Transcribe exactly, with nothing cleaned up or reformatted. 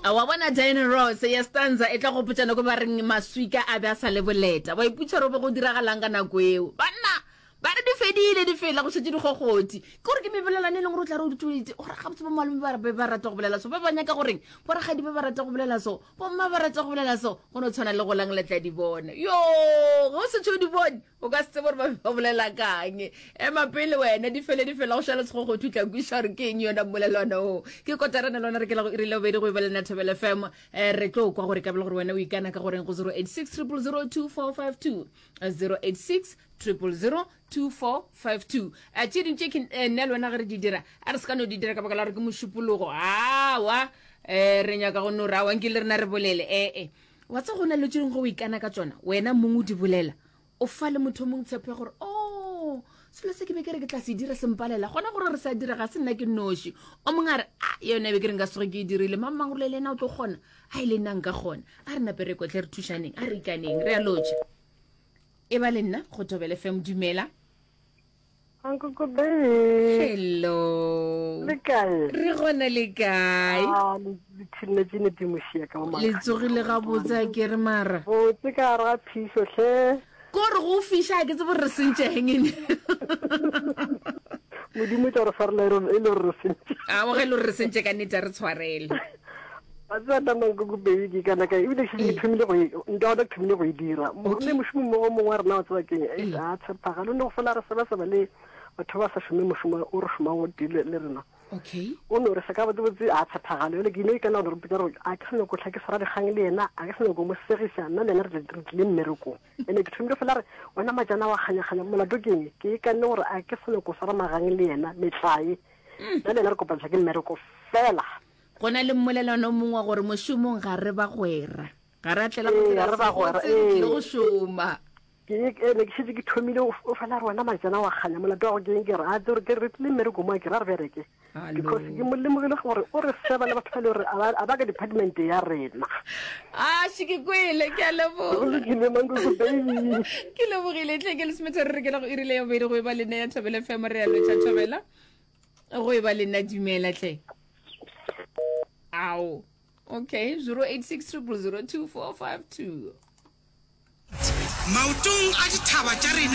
A wa bona Diana Ross ya stanza e tla gopotša nako ba reng maswika a be a sa le boleta. Wa iputša gore be go diragalang ka nako eo. Banna ba re di fedile di fela go šetše dikgokgothi. Ke gore ke mebelelwane e leng gore o tla re o ditšweditse gore gabotse bo malome ba be ba rata go bolela so, ba ba nyaka goreng borakgadi ba ba rata go bolela so, bomma ba rata go bolela so, go no tshwana le go lang le tla di bona. Yo, ge o setse o di bone o ka se tsebe gore ba be ba bolela kang. Ema pele wena, di fele di fela go šala sekgokgothu tla kweša gore ke eng yona mmolelwana o. Ke kotarana le wena re ke la go iri la bobedi go e ba le nna Thobela F M. Eh, re tlo kwa gore ka bele gore wena o ikana ka goreng go zero eight six triple zero two four five two, zero eight six triple zero two four five two. Eh, tše ding tše ke eh, nna le wena ge re di dira, a re se ka no di dira ka baka la gore ke mošupologo. Awa, eh, re nyaka go no re awa nke le rena re bolele. Eh, eh. Wa tseba go na le tše dingwe ge o ikana ka tšona, wena mong o di bolela, o fa le motho o mongwe tshepo ya gore, oh, selo se ke be ke re ke tla se dira se mpalela, gona gore re sa dira ga se nna ke noši. O mongwe a re, a yone be ke re nka se tsoge ke e dirile, mang mang gore le yena o tlo kgona, a e le nna nka kgona. A re nape re kotle re thušaneng, a re ikaneng, re a lotšha. E ba le nna go Thobela F M, dumela. Ankoko baby. Hello. Le kae? Re gona le kae? Ah, le le thinne tšene di mošia ka mo Le tsogile gabotse a ke re mara. Botse ka gare ga phišo hle. Ko re go fiša ke tsebe gore re sentšeng ene. Modimo tla re swarela e le gore re sentše. A o ge le gore re sentše ka nnete re tshwarele. Wa tseba nna Mankoko baby ke kana ka ebile ke šetše ke thomile go e nka gona ke thomile go e dira. Ne mošomo mmogo mongwe wa rena wa tseba keng e a tshepagale o ne go fela re sebaseba le batho ba sa šome mošomo o re šomang go tee le rena. Okay. O no re se ka botsebotse a tshepagale jale ke ino ikana gore re gore a ke sa nyako tlha ke swara dikgang le yena, a ke sa nyako mo segiša, nna le yena re tlile mmerekong. Ene ke thomile fela re wena majana wa kganyakganya molato ke eng, ke ikanne gore a ke sa nyako swara magang le yena metlae, nna le yena re kopantšha ke mmereko fela. Go na le mmolelwana o mongwe wa gore mošomong ga re bagwera, ga re a tlela go Ee, dira ga re bagwera, sebotse, re tlile ee. go šoma. Ke ene ke šetše ke thomile o fela re wena majana wa kganya molato wa go ke eng, ke re a tsere ke re tlile mmereko mo a ke ra re bereke because ke mo lemogile gore o re seba le batho ba le gore a ba ka department ya rena. A še ke kwele, ke a leboga. Go lokile Mankoko baby. Ke lebogile tle ke lesomethe re rekela go irile ya bobedi go e ba le nna ya Thobela F M, re a lotšha Thobela go e ba le nna, dumela tle. Ao. Okay, zero eight six triple zero two four five two. Maotong a dithaba tša rena.